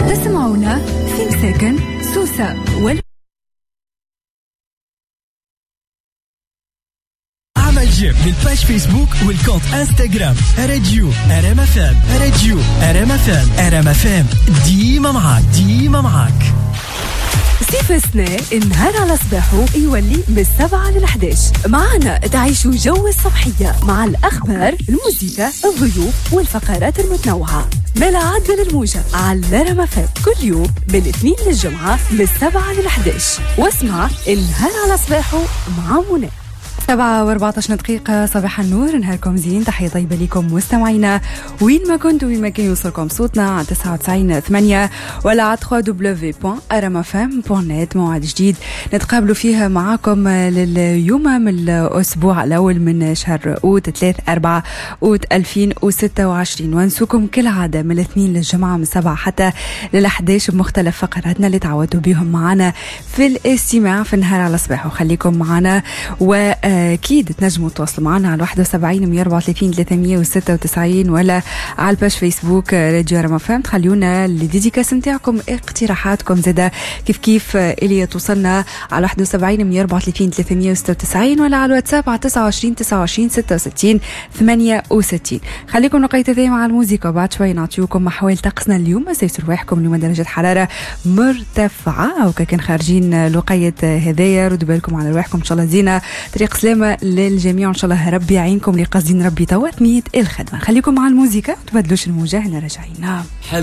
تسمعونا في مساكن سوسة اعمل j'aime لل page Facebook وال compte Instagram راديو ار ام اف ام، راديو ار ام اف ام، ار ام اف ام ديما معاك، ديما معاك. صيف السنة النهار على صباحه يولي من 7 لل11 معنا تعيشوا جو الصبحية مع الأخبار، الموسيقى، الضيوف والفقرات المتنوعة. ملا عدل الموجة على رما كل يوم من الاثنين للجمعة من 7 لل11، واسمع النهار على صباحه مع منى. 7:14 صباح النور، نهاركم زين، تحية طيبة لكم مستمعينا وين ما كنتوا، وين ما كان يوصلكم صوتنا على 99.8 ولا على www.rmfm.net. موعد جديد نتقابلوا فيها معاكم لليوم من الأسبوع الأول من شهر أوت 3-4 أوت 2026، ونسوكم كالعادة من الاثنين للجمعة من 7 حتى لل11 بمختلف فقراتنا اللي تعودوا بهم معنا في الاستماع في النهار على صباح. وخليكم معنا، واكيد تنجموا تواصلوا معنا على 71 134 396 ولا على ال page Facebook راديو رما فام. تخليونا les dédicaces نتاعكم، اقتراحاتكم زاده كيف كيف اللي توصلنا على 71 134 396 ولا على الواتساب على 29 29 66 68. خليكم نقيت ذي مع الموسيقى، وبعد شوي نعطيوكم احوال طقسنا اليوم. سيسر رواحكم اليوم درجه حرارة مرتفعة، وكان خارجين لقية هدايا ردوا بالكم على رواحكم. ان شاء الله زينة طريق سلامة للجميع، وإن شاء الله ربي يعينكم اللي قاصدين ربي توا ثنية الخدمة. خليكم مع الموسيقى، تبدلوش الموجة، هنا راجعين.